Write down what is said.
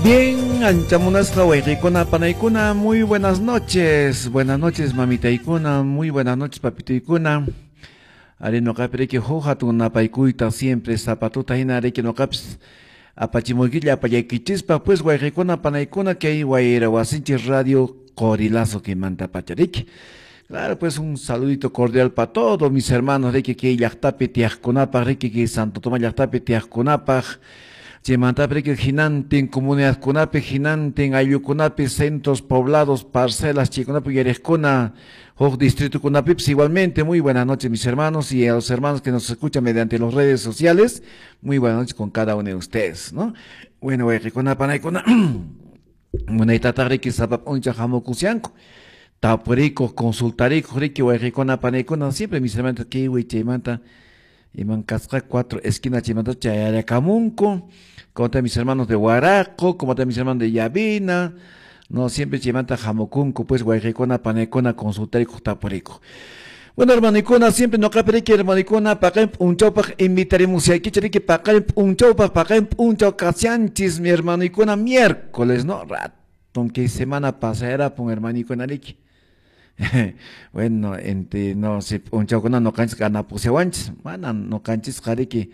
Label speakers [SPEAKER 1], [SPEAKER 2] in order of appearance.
[SPEAKER 1] Bien, anchamunasqa wayqiykuna panaykuna, muy buenas noches. Buenas noches, mamitaykuna, muy buenas noches, papituykuna. Ari noqapi riki huk hatun napaykuyta siempre zapatuta hina riki noqapis apachimuykilla apallaykichispa pues wayqiykuna panaykuna kay wayra wasinchis radio Qorilazo kimanta pacha riki. Claro, pues un saludito cordial para todos mis hermanos riki kay llaqtapi tiyaqkunapaq riki kay Santo Tomás llaqtapi tiyaqkunapaq. Chaymantapi riki hinantin comunidadkunapi hinantin ayllukunapi centros poblados parcelas chaykunapi uyariqkuna huk distritokunapipis igualmente. Muy buenas noches, mis hermanos, y a los hermanos que nos escuchan mediante las redes sociales, muy buenas noches con cada uno de ustedes, ¿no? Bueno, wayqikuna panaykuna, munaytataq riki sapa p'unchay hamukushanku tapurikuq consultarikuq riki wayqikuna panaykuna siempre mis hermanos kay chaymanta iman kasqa cuatro esquinas chaymanta chayarakamunku, como están mis hermanos de Huaraco, como están mis hermanos de Llavina, no, siempre chaymanta hamukunku pues wayqikuna panaykuna consultarikuq tapurikuq. Bueno, hermanikuna, siempre noqapi riki hermanikuna paqarin p'unchawpaq invitarimusaykichik riki paqarin p'unchawpaq paqarin p'unchaw kashanchis mi hermanikuna miércoles, ¿no? Raton kay semana pasarapun hermanikuna riki. Bueno, ente no si p'unchawkuna noqanchis kanapusiawanchis, mana noqanchisqa riki